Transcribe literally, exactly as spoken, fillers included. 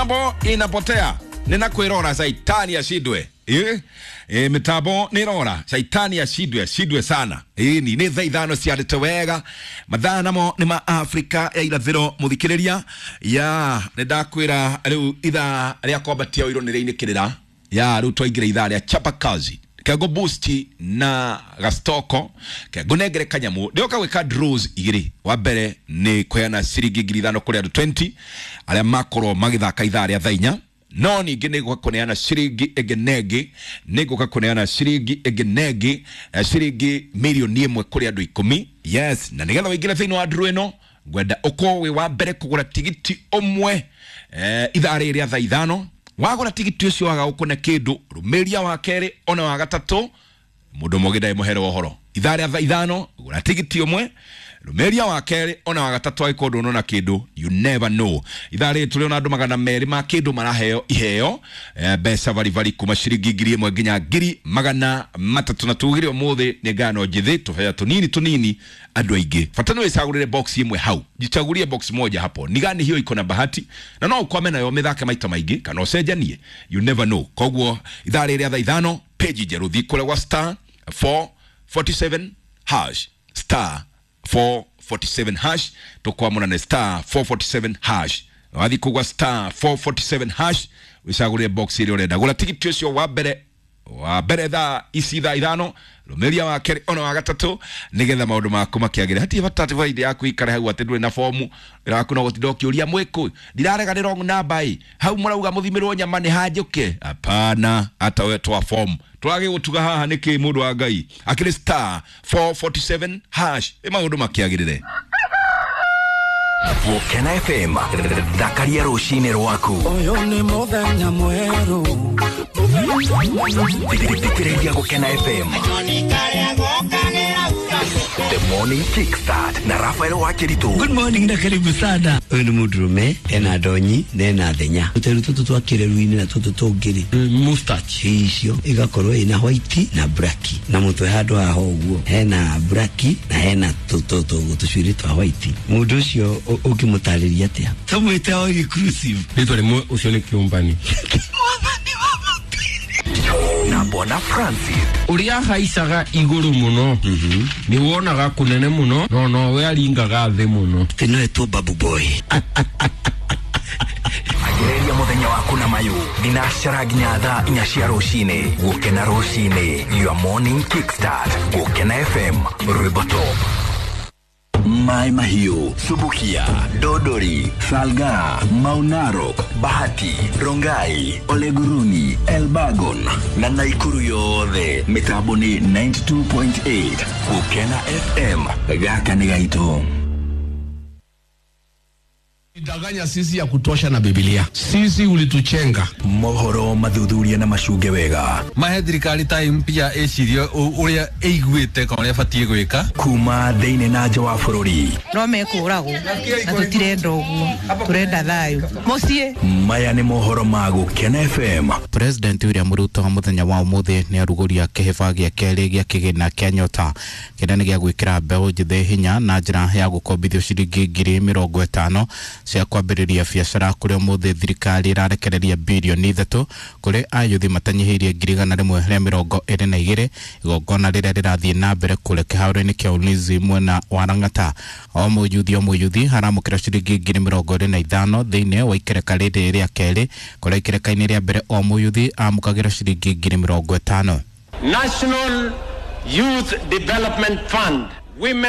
Mitambo inapotea ninakwirora saitani ashindwe. Eh, eh, mitambo nirora saitani ashindwe ashindwe sana. Eh, ni ni thaa ithano ciarĩte wega mathaa namo nĩ ma Afrika ya irathĩro mũthikĩrĩria ya nĩ ndakwĩra rĩu ithaa rĩa kwambatia ũirũ nĩ rĩinĩkĩrĩra ya rĩu twaingĩra ithaa rĩa chapa kazi kengo boost na gastoko kengo nengere kanyamu ndioka gwika draws igiri wa mbere ni kuheana ciringi ngiri ithano kuri andu twenty aria makorwo magithaka ithaa ria thaa inya no ningĩ nĩ ngũka kũneana ciringi ĩngĩ na ĩngĩ nĩ ngũka kũneana ciringi ĩngĩ na ĩngĩ eh, ciringi mirioni ĩmwe kũrĩ andũ ikũmi. Yes, na nĩgetha ũingĩre thĩinĩ wa draw ĩno ngwenda ũkorwo wĩ wa mbere kũgũra tigiti ũmwe eh, ithaa rĩrĩ rĩa thaa ithano wagũra tigiti ũcio waga gũkũne kĩndũ rũmĩria wa kerĩ ona wa gatatũ mũndũ ũmwe ũngĩ mũhere ũhoro ithaa rĩa thaa ithano gũra tigiti ũmwe rũmĩria wa kerĩ ona wa gatatũ angĩkorwo ndũnona kĩndũ you never know ithaa rĩrĩ tũrĩ ona andũ magana merĩ ma kĩndũ maraheo iheo eh, mbeca baribari kuma ciringi ngiri ĩmwe nginya ngiri magana matatũ na tugire ũmũthĩ nĩ ngano njĩthĩ tũheo tũnini tũnini andũ aingĩ bata nĩ wĩcagũrĩre box ĩmwe hau jichagulie box moja hapo ni gani hiyo iko na bahati na no ukwame nayo mĩthake maita maingĩ kana ũcenjanie you never know koguo ithaa rĩrĩ rĩa thaa ithano page njerũ thiĩ kũrĩa gwa star four forty-seven hash star four forty-seven hash tukwamũra star four forty-seven hash wathi kugwa star four forty-seven hash wicagũrĩre box ĩrĩa ũrenda gũra tigiti ũcio wa mbere wa mbere thaa ici thaa ithano rũmĩria wa kerĩ ona wa gatatũ nĩgetha maũndũ maku makĩagĩre hatirĩ bata atĩ baidi yaku ikare hau atĩ ndũrĩ na fomu yaku no gũtinda ũkĩũria mwĩkũ ndirarega nĩ wrong number ĩ hau mũrauga mũthimĩrwo nyama nĩ hanjũke hapana hata we twa fomu twagĩgũtuga haha nĩkĩ mũndũ wa Ngai akĩrĩ star four forty-seven hash ĩ maũndũ makĩagĩrĩre. Gũkena F M thakaria rũcinĩ rwaku ũyũ nĩ mũthenya mwerũ thikĩrĩria Gũkena F M The Morning Kickstart na Rafael Wakiritu. Good morning na karibu sana. Ũyũ nĩ mũndũrũme ena ndonyi na ena thenya tũteru tũtũ twa kĩreru-inĩ na tũtũ tũngĩ mustache icio igakorwo ina white na black na mũtwe handũ haha ũguo hena black na hena tũcuĩrĩ twa white mũndũ ũcio ũngĩmũtarĩria atĩa tũmwĩte all inclusive rĩtwa rĩmwe ũcio nĩ kĩũmbani na Bwana Francis ũrĩa haicaga igũrũ mũno nĩ wonaga kũnene mũno no nowe aringaga thĩ mũno atĩ no etwo babu boy Agĩrĩria mũthenya waku na mayũ thinacara nginya thaa inya cia rũcinĩ Gũkena rũcinĩ your morning kickstart Gũkena F M rwĩmbo top Mai Mahiu, Subukia, Dodori, Salga, Maunarok, Bahati, Rongai, Oleguruni, Elbagon na Naikuru yothe mitambo ni ninety-two point eight Gũkena F M gaka nĩ gaitũ. Danganya sisi ya kutosha na Biblia. Sisi ulituchenga. Mohoro mathuthuria na macunge wega. Mahe thirikari ta mpya ĩcirie ũrĩa ĩiguĩte kana ũrĩa ĩbatiĩ gwĩka. Kuma thĩinĩ na nja wa bũrũri. No mekũragwo na tũtirenda ũguo tũrenda thayũ mũciĩ. Maya nĩ mohoro ma Gũkena F M. President William Ruto mũthenya wa ũmũthĩ nĩ arugũria kĩhĩba gĩa kerĩ gĩa kĩgĩna kĩa Nyota kĩrĩa nĩ gĩa gwĩkĩra mbeũ njĩthĩ hinya na njĩra ya gũkombithio ciringi ngiri mĩrongo ĩtano cia kwambĩrĩria biacara kũrĩa ũmũthĩ thirikari ĩrarekereria birioni ithatũ kũrĩ ayuthi matanyihĩirie ngiri igana rĩmwe rĩa mĩrongo ĩrĩ na igĩrĩ igongona rĩrĩa rĩrathiĩ na mbere kũrĩa kĩharo-inĩ kĩa Ulinzi mwena wa Lang'ata o mũyuthi o mũyuthi aramũkĩra ciringi ngiri mĩrongo ĩrĩ na ithano thĩinĩ wa ikereka rĩrĩ rĩa kerĩ kũrĩa ikereka-inĩ rĩa mbere o mũyuthi amũkagĩra ciringi ngiri mĩrongo ĩtano. National Youth Development Fund Women